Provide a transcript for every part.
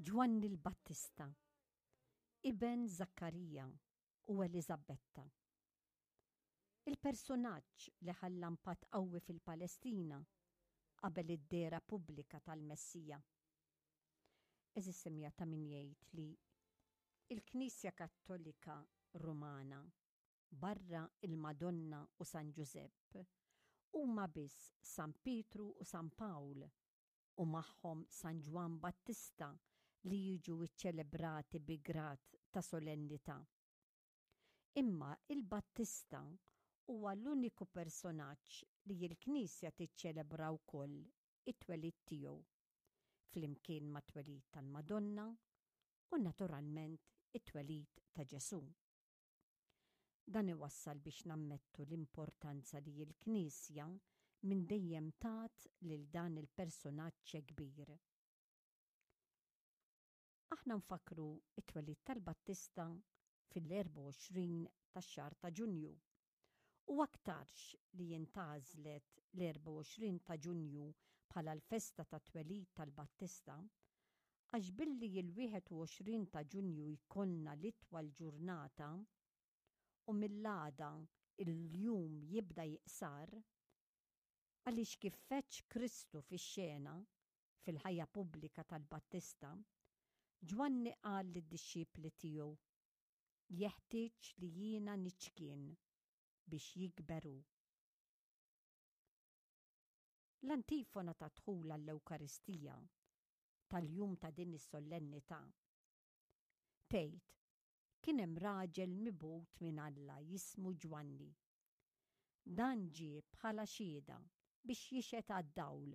Ġwanni l-Battista, iben Żakkarija u Eliżabetta. Il-persunaġġ li ħalla impatt qawwi fil-Palestina qabel id-dehra pubblika tal-Messija. Għeżież semmiegħa ta' min jgħid li l-Knisja Kattolika Rumana barra l-Madonna u San Ġużepp huma biss San Pietru u San Pawl u magħhom San Ġwann Battista li jiġu ċċelebrati bi grad ta' solennità. Imma il-Battista huwa l-uniku personaġġ li l-Knisja tiċċelebra wkoll it-twelid tiegħu, flimkien mat-twelid tal-Madonna u naturalment it-twelid ta' Ġesù. Dan iwassal biex nammettu l-importanza li l-Knisja minn dejjem tat lil dan il-persunaġġ kbir. Aħna nfakkru t-twelid tal-Battista fil-24 tax-xahar ta' Ġunju. U aktarx li intgħażlet l-24 ta' Ġunju bħala l-festa tat-twelid tal-Battista għax billi l-21 ta' Ġunju jkollna l-itwal ġurnata u mill-għada l-jum jibda jiqsar, għaliex kif feġġ Kristu fix-xena, fil-ħajja pubblika tal-Battista, Ġwanni qal lid-dixxipli tiegħu, Jeħtieġ li jiena niċkien biex jikber hu. L-antifona tad-dħul għall-Ewkaristija tal-jum ta' din is-sollennità tgħid, Kien hemm raġel mibgħut minn Alla jismu Ġwanni. Dan ġie bħala xhieda biex jixhed għad-dawl,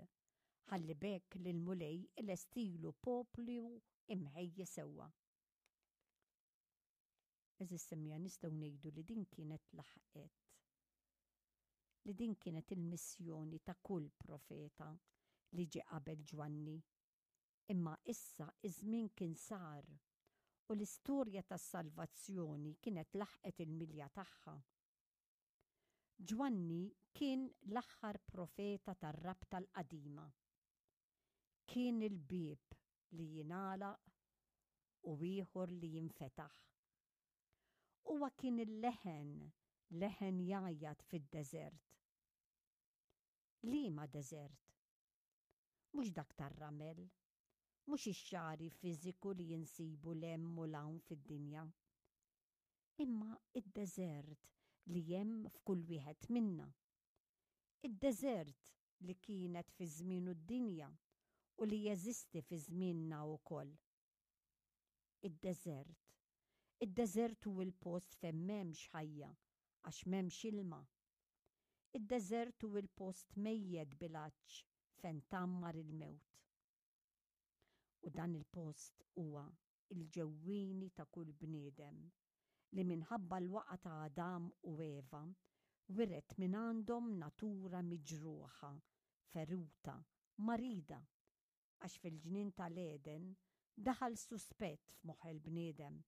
ħalli b'hekk l-Mulej ilestilu poplu imħejji sewwa. Għeżież semmiegħa nistgħu ngħidu li din kienet laħqet li din kienet il-missjoni ta' kull profeta li ġie qabel Ġwanni. Imma issa iż-żmien kien sar u l-istorja tas-salvazzjoni kienet laħqet il-milja tagħha. Ġwanni kien l-aħħar profeta tar-Rabta l-Qadima. Kien il-bieb li jingħalaq u ieħor li jinfetaħ. Huwa kien il-leħen, leħen jgħajjat fid-deżert. Liema deżert? Mhux dak tar-ramel, mhux ix-xagħri fiżiku li insibu 'l hemm u 'l hawn fid-dinja. Imma d-deżert li hemm f'kull wieħed minna. Id-deżert li kienet fi żmienu d-dinja u li jeżisti fi żmienna wkoll. Id-deżert. Id-deżert hu l-post fejn m'hemmx ħajja għax m'hemmx ilma. Id-deżert hu l-post mejjet bil-għatx fejn tgħammar il-mewt. U dan il-post huwa l-ġewwieni ta' kull bniedem li minħabba l-waqgħa ta' Adam u Eva wiret mingħandhom natura miġruħa, feruta, marida, għax fil-ġnien tal-Għeden daħal suspett f'moħħ il-bniedem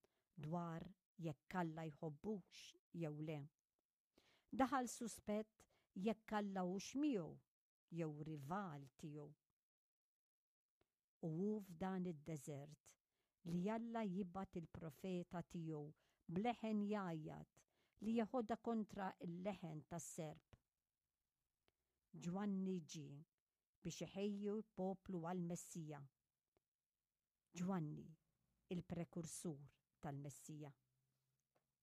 dwar jekk Alla jħobbux jew le. Daħal suspett jekk Alla hux miegħu jew rival tiegħu. U hu f'dan id-deżert li Alla jibgħat il-profeta tiegħu b'leħen jgħajjat li jeħodha kontra l-leħen tas-serp. Ġwanni ġie biex iħejji l-poplu għall-Messija. Ġwanni, il-prekursur tal-Messija.